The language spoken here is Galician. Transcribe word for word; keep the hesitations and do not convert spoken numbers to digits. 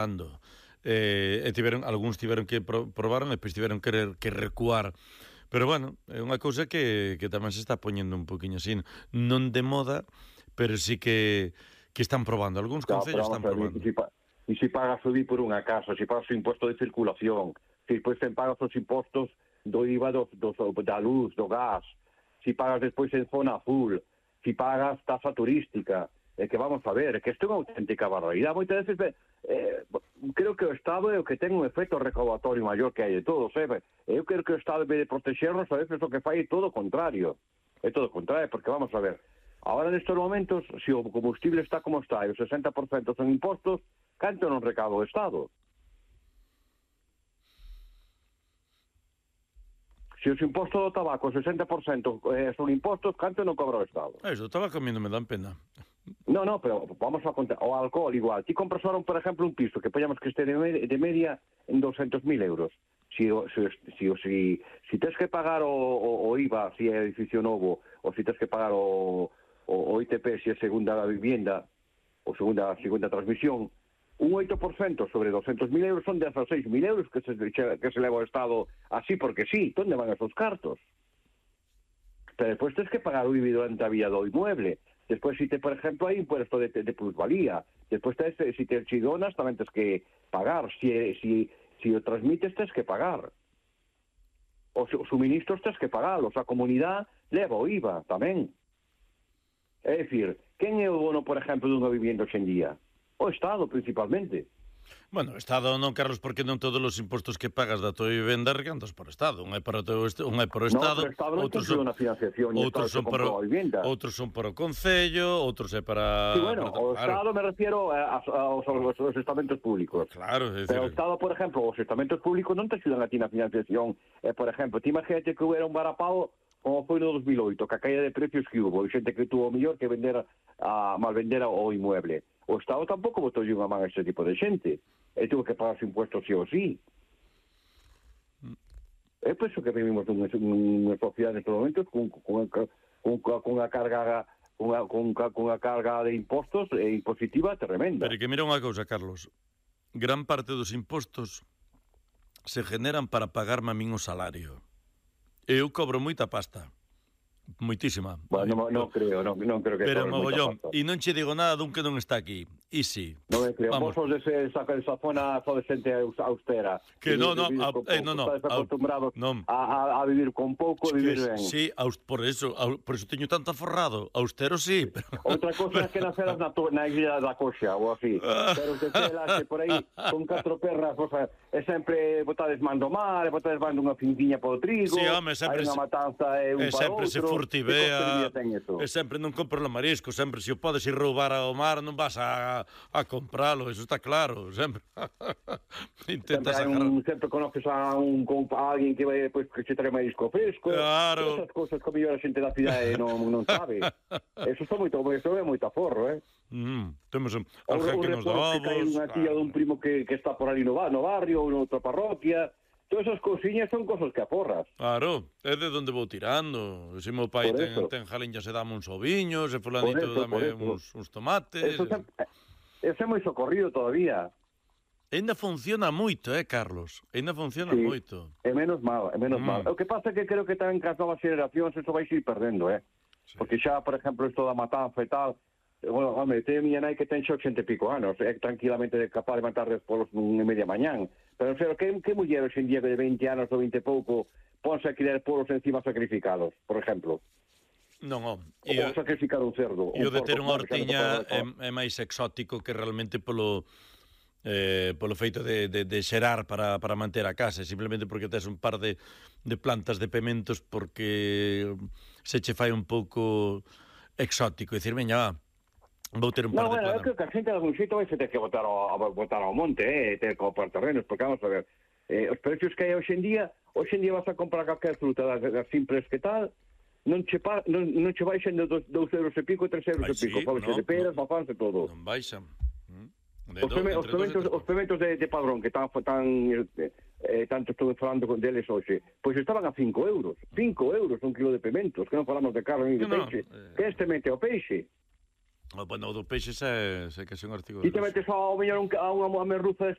Ando. Eh, e tiveron, algúns tiveron que pro, probaron e depois tiveron que, que recuar. Pero bueno, é unha cousa que, que tamén se está poñendo un poquinho así, non de moda, pero sí que, que están probando. Algúns no, concellos están ver, probando. E si, e si pagas o I por unha casa, se si pagas o imposto de circulación, se si depois te pagas os impostos do I V A do, do, da luz, do gas, se si pagas despois en zona azul, se si pagas tasa turística, é que vamos a ver, é que isto é unha auténtica barbaridade. Moitas veces, eh, creo que o Estado é o que ten un efecto recaudatorio maior que hai de todos, eh? Eu creo que o Estado, en vez de protegernos, a veces o que fai é todo o contrario. É todo o contrario, porque vamos a ver, agora nestes momentos, se o combustible está como está e o sesenta por cento son impostos, canto non recauda o Estado? Se os impostos do tabaco, o sesenta por cento eh, son impostos, canto non cobra o Estado? Eso, o tabaco a mí non me dan pena. No, no, pero vamos a contar. O alcohol igual. Ti compras ahora, por ejemplo, un piso que poñamos que este de, med de media en doscientos mil euros. Si, si, si, si, si tens que pagar o, o, o I V A, si é edificio novo, ou si tens que pagar o, o, o I T P, si é segunda vivienda, ou segunda, segunda transmisión, un oito por cento sobre doscientos mil euros son dieciséis mil euros que se, que se leva ao Estado así porque sí. ¿Dónde van esos cartos? Pero despois tens que pagar o I V A durante a vía do inmueble. Despois, si te, por exemplo, hai impuesto de, de plusvalía. Despois, te, si te si donas, tamén tens que pagar. Si, si, si o transmites, tens que pagar. Os, os suministros tens que pagarlos. A comunidade leva o I V A tamén. É dicir, quen é o bono, por exemplo, dunha vivienda hoxe en día? O Estado, principalmente. Bueno, o Estado non, Carlos, porque non todos os impostos que pagas da tua vivenda recantas por Estado. Un é para o teu, un é para o Estado, no, Estado non outros son na financiación, outros son para o, outros son para o Concello, outros é para... Sí, bueno, para, o claro. Estado me refiero a, a, aos, aos estamentos públicos. Claro, é dicir... Pero o Estado, por exemplo, os estamentos públicos non te axudan a ti na financiación. Eh, por exemplo, ti imagínate que hubiera un varapao como foi no dos mil oito, que a caída de precios que hubo, e xente que tuvo mellor que vender a, mal vender o inmueble. O Estado tampouco botou unha man a ese tipo de xente. E tuvo que pagar os impuestos sí ou sí. É por iso que vivimos nunha, nunha sociedade nestes momentos con, con, con, con a carga con a, con, con a carga de impostos e impositiva tremenda. Pero que mira unha cousa, Carlos. Gran parte dos impostos se generan para pagarme a min o salario. Eu cobro moita pasta. Moitísima. Bueno, non, non creo, non, non creo que pero mogollón, e non che digo nada dun que non está aquí. E si. Non me creo, vos sos dese, saca esa zona só de xente austera. Que non, non, eh, non, non. Estás acostumbrados non. A, a, a vivir con pouco, e vivir ben. Sí, por eso, por eso teño tanto aforrado. Austero sí, pero... Outra cosa é que naceras na, na isla da Coxa, ou así. Pero que telas que por aí, con catro perras, o sea, é sempre botades mando mar, e botades mando unha fintiña para o trigo, sí, home, sempre, hai unha matanza e un para outro. Se furtivea, e sempre non compro o marisco, sempre se o podes ir roubar ao mar non vas a, a compralo, eso está claro, sempre. Intentas sempre, un, sempre conoces a un a alguén que vai pues, que se trae marisco fresco, claro. Esas cousas que a mellor a xente da cidade non, non sabe. Eso está moito, eso é moito aforro, eh? Mm, temos un, un que nos dá ovos, que cae unha tía claro. dun primo que, que está por ali no, no barrio ou noutra parroquia. Todas esas cousiñas son cosas que aforras. Claro, é de onde vou tirando. Se meu pai ten, ten jaliñas e dame uns oviños, e fulanito eso, dame uns, uns tomates. Eso, se, eso é moi socorrido todavía. Ainda funciona moito, eh, Carlos? Ainda funciona sí, moito. É menos mal, é menos mm. mal. O que pasa é que creo que tamén que as novas generacións eso vai ir perdendo, eh? Sí. Porque xa, por exemplo, isto da matanza e tal... Bueno, home, ten miña nai que ten xa ochenta e pico anos, é tranquilamente capaz de matar despois nunha media mañán. Pero, pero que, que muller hoxe en día de veinte anos ou veinte e pouco ponse a criar polos encima sacrificados, por exemplo? Non, oh, ou sacrificar un cerdo. E o de ter unha hortiña é, é máis exótico que realmente polo... Eh, polo feito de, de, de xerar para, para manter a casa, simplemente porque tes un par de, de plantas de pementos porque se che fai un pouco exótico, e dicir, veña, vou ter un par no, de bueno, plantas. Eu creo que a xente de algún xito vai se ter que botar ao, botar ao monte, eh, ter que comprar terrenos, porque vamos a ver, eh, os precios que hai hoxe en día, hoxe en día vas a comprar calquer fruta das, das simples que tal, non che, pa, non, non che baixen de dos, dos euros e pico, tres euros Ay, e pico, sí, no, de peras, no, mafans e todo. Non baixan. Mm. Os, peme, os, pementos, os pementos de, de padrón que tan, tan eh, eh, tanto estou falando con deles hoxe, pois estaban a cinco euros. cinco euros un kilo de pementos, que non falamos de carne ni de no, peixe. No, eh... Que este mente o peixe? O, bueno, o do peixe é, é que é un artigo... Ti te metes ao mellor un, a unha merluza